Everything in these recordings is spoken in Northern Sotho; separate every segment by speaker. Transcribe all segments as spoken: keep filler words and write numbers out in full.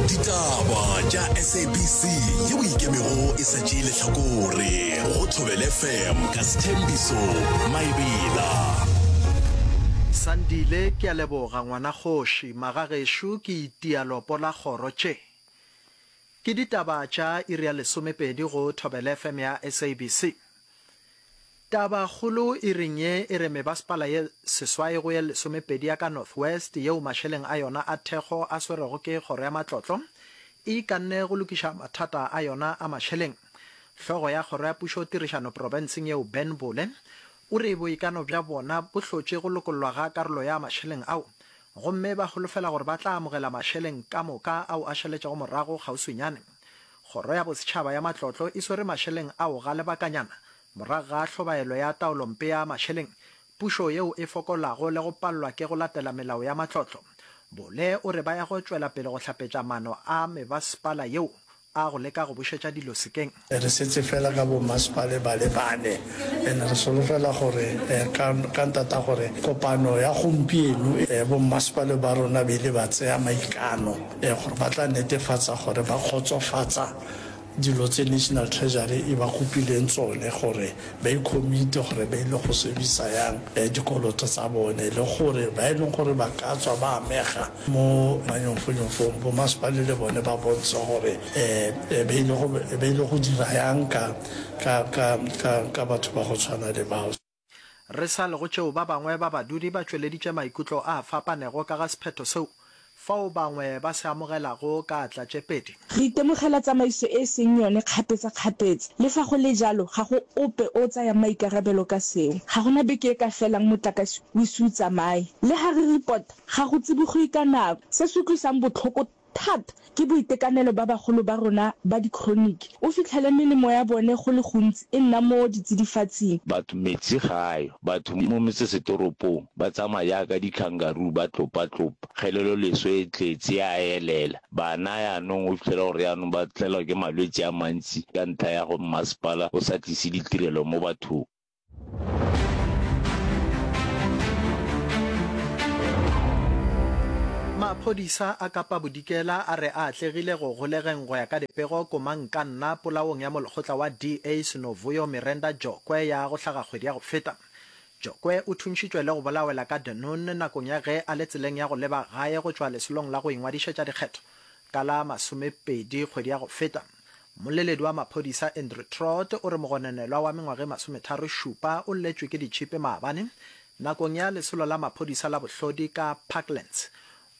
Speaker 1: Ditaba tša S A B C yeo e ikemego e sa tšee lehlakore go Thobela F M ka Sthembiso Maebela.
Speaker 2: Sandile, Ke a leboga ngwana kgoši. Magagešo ke itia lopo la kgoro tše. Ke ditaba tša iri ya lesomepedi go Thobela F M ya S A B C. Tabakgolo iring ye e re mebasepala ye seswai go ye lesomepedi ya ka North West yeo mašeleng a yona a thekgo a swerwego ke Kgoro ya Matlotlo e ikanne go lokiša mathata a yona a mašeleng. Hlogo ya Kgoro ya Pušo Tirišano profenseng yeo Ben Bole o re boikano bja bona bo hlotše go lokollwa ga karolo ya mašeleng ao gomme ba holofela gore ba tla amogela mašeleng ka moka ao a šaletšego morago kgauswinyane. Kgoro ya Bosetšhaba ya Matlotlo e swere mašeleng ao ga lebakanyana morago ga hlobaelo ya taolompe ya mašeleng, pušo yeo e fokolago le go palelwa ke go latela melao ya matlotlo. Bole o re ba ya go tšwela pele go hlapetša maano a mebasepala yeo a go leka go bušetša dilo sekeng.
Speaker 3: Re setse fela ka bommasepale ba le bane and re solofela gore ka ka ntata gore kopano ya gompieno bommasepale ba rona ba ile ba tseya maikano gore ba tla netefatsa gore ba kgotsofatsa dilo tse National Treasury e ba kopileng tsone gore ba i-commit-e gore ba ile go servisa yang dikoloto tsa bone le gore ba e leng gore ba ka tswa ba amega mo manyofonyofong bommasepale le bone ba bontshe gore um ba ile go ba ile go dira yang ka ka ka ka ka batho ba go tshwana le bao.
Speaker 2: Re sa le go tšeo ba bangwe ba badudi ba tšweleditše maikutlo a fapanego ka ga sephetho seo fao bangwe ba se amogelago ka atla tše pedi.
Speaker 4: Re itemogela tsamaiso e e seng yone kgapetsa-kgapetsa. Le fa go le jalo, ga go ope o o tsayang maikarabelo ka seo. Ga gona beke e ka felang motlakase o ise o tsamaye. Le ha re report, ga go tsibogiwe ka nako. Se se utlwisang botlhoko thata ke boitekanelo ba bagolo ba rona ba di-chronic. O fitlhele melemo ya bone go le gontsi e nna mo ditsidifatsing.
Speaker 5: Batho metsi ga a yo. Batho mo metsesetoropong ba tsamaya jaaka di-kangaroo ba tlopa-tlopa. Kgeleloleswe e tletse ya elela. Bana yaanong o fitlhela gore yaanong ba tlelwa ke malwetse a mantsi ka ntlha ya go mmasepala o sa tlise ditirelo mo bathong.
Speaker 2: Maphodisa a Kapa Bodikela a re a atlegile go golegeng go ya ka dipego komangkanna polaong ya molekgotla wa D A Sinovuyo Mirenda Jokwe ya go hlaga kgwedi ya go feta. Jokwe o thuntšhitšwe le go bolawela ka Dunoon nakong ya ge a le tseleng ya go leba gae go tšwa lesolong la go ingwadišetša dikgetho ka la masomepedi kgwedi ya go feta. Mmoleledi wa maphodisa Andrew Trott o re mogononelwa wa mengwaga e masometharo šupa o lletšwe ke ditšhipi maabane nakong ya lesolo la maphodisa la bohlodi ka Parklands.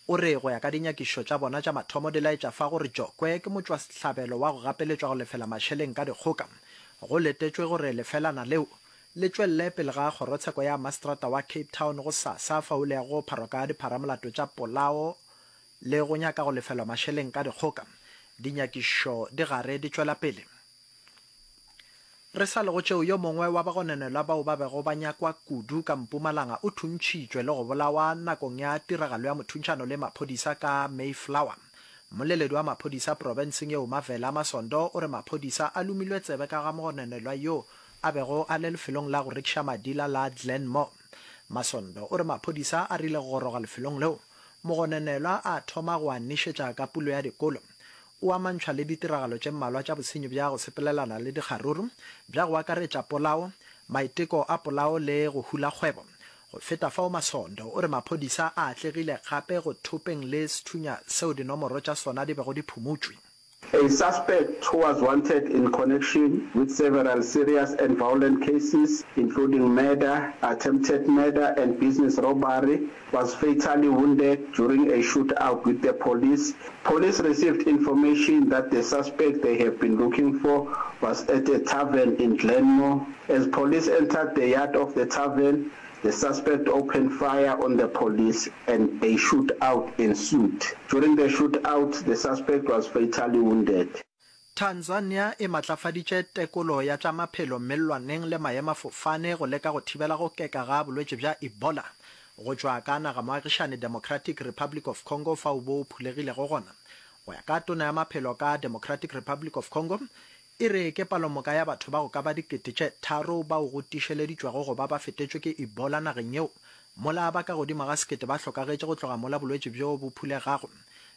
Speaker 2: O re go ya ka dinyakišišo tša bona tša mathomo di laetša fa gore Jokwe ke motšwasehlabelo wa go gapeletšwa go lefela mašeleng ka dikgoka. Go letetšwe gore lefelana leo le tšwelele pele ga kgorotsheko ya maseterata wa Cape Town gosasa fao le yago go pharwa ka dipharamolato tša polao le go nyaka go lefelwa mašeleng ka dikgoka. Dinyakišišo di gare di tšwela pele. Re sa le go tšeo, yo mongwe wa bagononelwa bao ba bego ba nyakwa kudu ka Mpumalanga o thuntšhitšwe le go bolawa nakong ya tiragalo ya mothuntšhano le maphodisa ka Mayflower. Mmoleledi wa maphodisa profenseng yeo Mavela Masondo o re maphodisa a lomilwe tsebe ka ga mogononelwa yo a bego a le lefelong la go rekiša madila la Glenmore. Masondo o re maphodisa a rile go goroga lefelong leo, mogononelwa a thoma go a nišetša ka pulo ya dikolo. O amantšhwa le ditiragalo tše mmalwa tša bosenyi bja go sepelelana le dikgaruru, bja go akaretša polao, maiteko a polao le go hula kgwebo. Go feta fao Masondo o re maphodisa a atlegile gape go thopeng le sethunya seo dinomoro tša sona di bego di phumotšwe.
Speaker 6: A suspect who was wanted in connection with several serious and violent cases, including murder, attempted murder and business robbery, was fatally wounded during a shootout with the police. Police received information that the suspect they have been looking for was at a tavern in Glenmore. As police entered the yard of the tavern, the suspect opened fire on the police and a shootout ensued. During the shootout, the suspect was fatally wounded.
Speaker 2: Tanzania e matlafaditše tekolo ya tša maphelo mellwaneng le maemafofane go leka go thibela go keka ga bolwetši bja Ebola go tšwa ka nagamoagišane Democratic Republic of Congo fao bo phulegilego gona. Go ya ka tona ya maphelo ka Democratic Republic of Congo, e re ke palomoka ya batho ba go ka ba dikete tše tharo bao go tiišeleditšwego go ba ba fetetšwe ke Ebola nageng yeo, mola ba ka godimo ga sekete ba hlokagetše go tloga mola bolwetši bjo bo phulegago.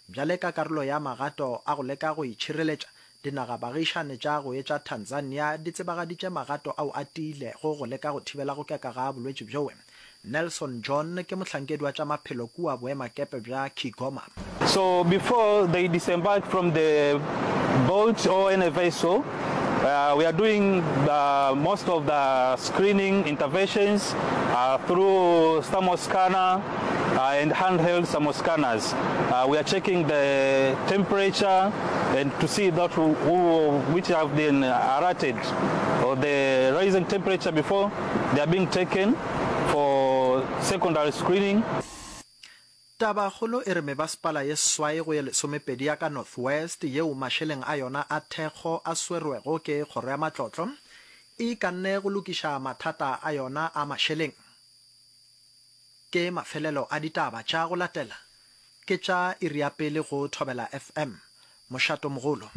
Speaker 2: Bjale ka karolo ya magato a go leka go itšhireletša, dinagabagišane tša go etša Tanzania di tsebagaditše magato ao a tiilego go leka go thibela go keka ga bolwetši bjoe. Nelson John ke mohlankedi wa tša maphelo kua boemakepe bja Kigoma.
Speaker 7: So before they disembark from the boat or any vessel, uh, we are doing the, most of the screening interventions uh, through thermoscanner uh, and handheld thermoscanners. Uh, we are checking the temperature and to see that who, who, which have been alerted or the rising temperature before they are being taken for secondary screening.
Speaker 2: Tabakgolo e re mebasepala ye seswai go ye lesomepedi ya ka North West yeo mašeleng a yona a thekgo a swerwego ke Kgoro ya Matlotlo e ikanne go lokiša mathata a yona a mašeleng. Ke mafelelo a ditaba tša go latela ke tša iri ya pele go Thobela F M. Mošatomogolo.